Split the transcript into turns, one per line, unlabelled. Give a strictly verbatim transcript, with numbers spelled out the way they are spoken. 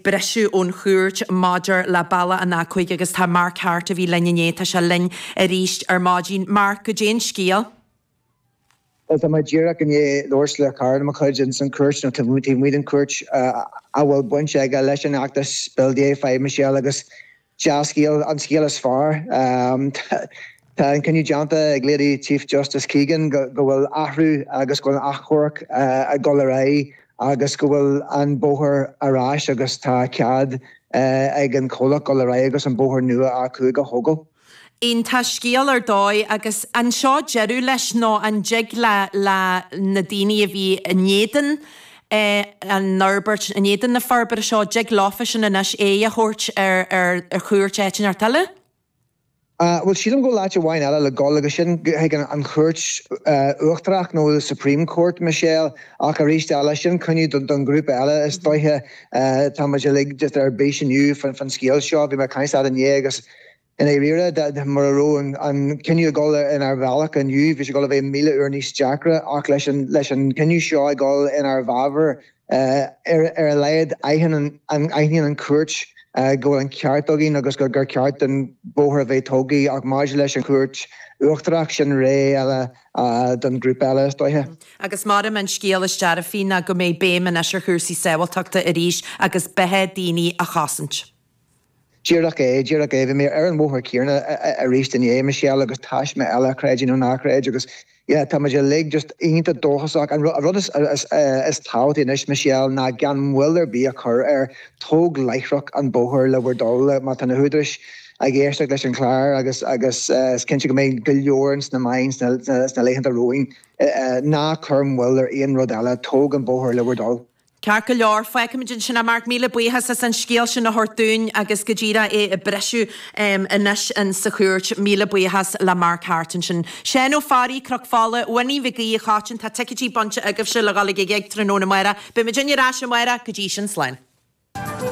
briseadh ón chúirt maidir le bealach an A cúig agus tá Mark Harte a bhí linn inné, tá sé linn arís ar maidin. Mark, goidé an scéal?
Well tá mé díreach i ndiaidh labhairt le cara de mo chuid ins an chúirt nó taobh amuigh den chúirt a bhfuil baint aige leis an fheachtas Build the A five Michelle agus dea-scéal an scéal is fearr. Tá an cinneadh déanta ag Lady Chief Justice Keegan go bhfuil athrú agus go bhfuil an achomharc ag dul ar aghaidh agus go bhfuil an bóthar ar ais agus tá cead ag an chomhlacht dul ar aghaidh agus an bóthar nua A cúig a thógáil.
Iontach scéal ar dóigh agus an seo deireadh leis nó an dtig le le na daoine a bhí in éadan an fhorbairt, in éadan na forbartha seo, dtig leofa sin anois aghaidh a thabhairt ar ar chúirt áit inteacht eile?
Bhuel sílim go bhfuil áit amháin eile le dul agus sin chuig an Chúirt Uachtarach nó the Supreme Court, Michelle, ach arís eile sin cinneadh don ghrúpa eile is dóiche. Tá muid uilig just ar bís inniu faoin scéal seo. Bhí mé ag caint leat inné agus I ndáiríre, mura raibh an cinneadh ag dul inár bhealach inniu, bhí sé ag dul a bheith míle uair níos deacra ach leis an cinneadh seo ag dul inár bhfabhar, ar a laghad aithníonn an chúirt go bhfuil an ceart againn agus gur ceart don bhóthar a bheith tógtha ach maidir leis an Chúirt Uachtarach, sin ré eile don ghrúpa eile is dóiche.
Agus maram an scéal is dearfaí ná go mbeidh béim anois ar chúrsaí sábháilteachta arís agus beatha daoine a chosaint.
Díreach é, díreach é. Bhí mé ar an bhóthar céanna arís inné, Michelle, agus taisme eile, creid é nó ná creid, agus yeah, tá muid uilig just iontach dóchasach. An rud is is tábhachtaí anois, Michelle, ná gan moill ar bith a chur air, tóg láithreach an bóthar le bhur dtoil má tá na húdaráis ag éisteacht leis an chlár agus agus is cinnte go mbeidh go leor ins na meáin sna sna laethanta romhainn, ná cuir moill ar aon rud eile, tóg an bóthar le bhur dtoil.
Ceart go leor, fágfaimid ansin é Mark, míle buíochas as an scéal sin a thabhairt dúinn agus go díreach é ag briseadh anois in sa chúirt. Míle buíochas le Mark Harte ansin. Seán Ó Fearraigh, Cnoc Fola, Winnie Mhig Aoidh, a Cháitín, tá ticéidí bainte agaibhse le dhul ag an ghig tráthnóna amárach. Beidh muidinne ar ais amárach, go dtí sin, slán.